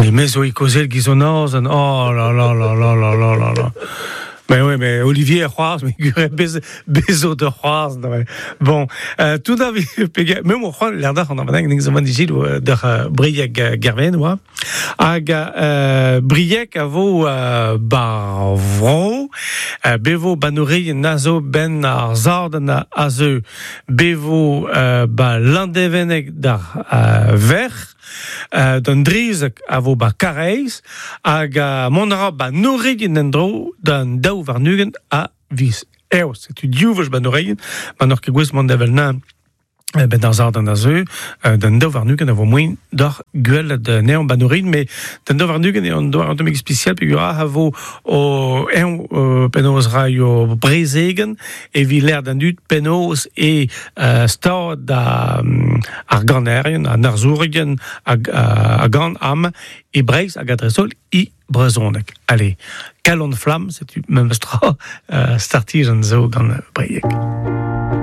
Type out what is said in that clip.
Mais me zo ikozel giz an azen, oh la la la la la la la la. Mais oui, mais Olivier a c'hoarzh, mais gure bez, bezo de c'hoarzh. Bon, euh, tout da pege, me mo c'hoant l'air d'ac'h an avaneg ning zo man digil d'ar euh, Brieg euh, Gerven oa. Hag euh, Brieg a vo euh, bar vro, euh, bevo banourien a zo ben ar zarden a zeu, bevo euh, ba Landeveneg d'ar euh, verc'h, euh, d'an drizek a vo ba Karaez, hag uh, mont a ra ba Noregin en-dro d'an daou warn-ugent a viz Eost. Setu div wech ba Noregin, ma n'oc'h ket gouest mont da vel-na ben d'ar zardan a zeu, d'an daou warn-ugent a vo moaien deoc'h gwelet anezhañ ba Noregin, met d'an daou warn-ugent eo an doare un tammig spesial peogwir a vo o eñ penaos raio brezegenn evit lâr d'an dud penaos e stad ar ganerien, an arzourien a gan amañ e Breizh hag a-dreist-holl e brezhoneg. Allez, kalon flamm, setu memes tra startijenn zo gant Brieg.